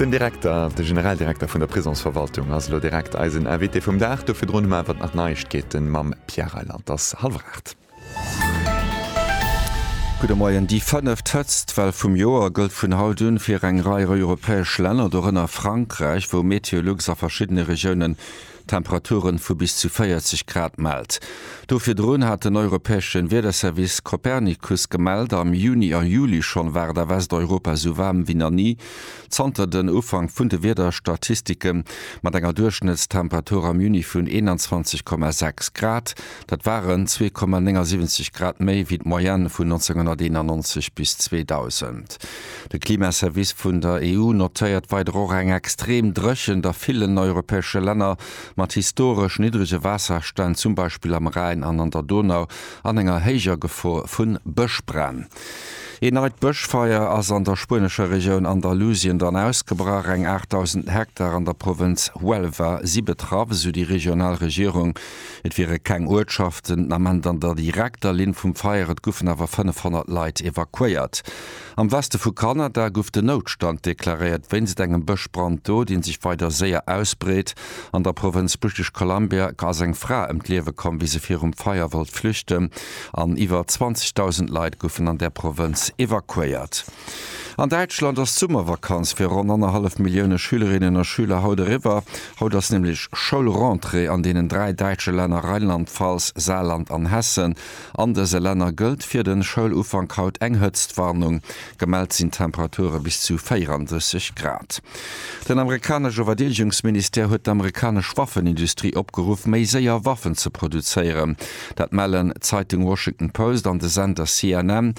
Den Direkter, de Generaldirekter vun der Prisongsverwaltung ass elo direkt eisen Invité vum Dag. Do virdrun hu mer awer nach Neiegkeeten mam Pierre Reyland. Et ass hallwer 8. Gudde Moien. Déi fënneft Hëtztwell vum Joer gëllt vun haut un fir eng Rei europäesch Länner, dorënner Frankräich, wou Meteolux a verschiddene Regiounen Temperaturen vu bis zu 40 Grad mellt. Do virdrun hat den europäesche Wiederservice Copernicus gemellt, am Juni a Juli schonn war et a Westeuropa esou waarm wéi nach ni zanter den Ufank vun de Wiederstatistike mat enger Duerchschnëttstemperatur am Juni vun 21,6 Grad. Dat waren 2,79 Grad méi wéi d'Moyenne vun 1991 bis 2000. De Klimaservice vun der EU notéiert weider och eng extrem Dréchent a villen europäesche Länner, mat historesch niddrege Waasserstänn, zum Beispill am Rhäin an an der Donau, an enger héijer Gefor vu Bëschbränn. Een neit Bëschfeier ass an der spuenescher Regioun Andalusien dann ausgebrach. Eng 8.000 Hektar an der Provënz Huelva si betraff, esou déi regional Regierung. Et wiere keng Uertschaften den Ament an der direkter Linn vum Feier, et goufen awer 500 Leit evakuéiert. Am Weste vu Kanada gouf den Noutstand deklaréiert wéinst engem Bëschbrand do, dee sech weider séier ausbreet. An der Provënz British Columbia ass eng Fra ëm d'Liewe komm, wéi se virum Feier wollt flüchten an iwwer 20.000 Leit goufen an där Provënz evakuéiert. An Däitschland ass d'Summervakanz fir ronn annerhallef Millioune Schülerinnen a Schüler haut eriwwer. Haut ass nämlech Schoulrentrée an deenen 3 däitsche Länner Rheinland-Pfalz, Saarland an Hessen. An dëse Länner gëllt fir de Schoulufank haut eng Hëtztwarnung. Gemellt sinn Temperature bis zu 34 Grad. Den amerikanesche Verdeedegungsministère huet d'amerikanesch Waffenindustrie opgeruff, méi séier Waffen ze produzéieren. Dat mellen d'Zeitung Washington Post an de Sender CNN.